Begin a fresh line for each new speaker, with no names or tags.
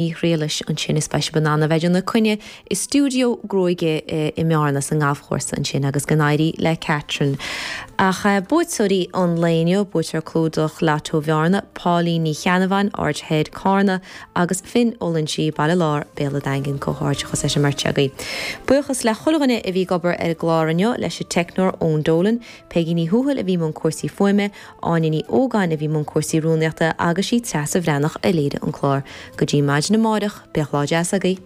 Ní Ghriallais ansin is beidh sibh in ann a bheith ag déanamh coinne i stiúideo gruaige i mBearna sa ngalfchúrsa ansin agus go n-éirí le Catherine. Ach buaiteoirí an lae inniu, buaiteoir clúdach Lotto Bhearna, Pauline Ní Cheannabháin, Aird Thoir, Carna agus Finn Ó Loinsigh, Baile Láir, Béal an Daingin. Comhghairdeachas leis an mbeirt agaibh. Buíochas le chuile dhuine a bhí ag obair ar an gclár inniu, leis an teicneoir Eoin Dolan, Peigí Ní Thuathail a bhí i mbun cúrsaí fuaime, Áine Ní Ógáin a bhí i mbun cúrsaí rúnaíochta agus sí Treasa Bhreathnach a léirigh an clár. Go dtí maidin amáireach, bíodh lá deas agaibh.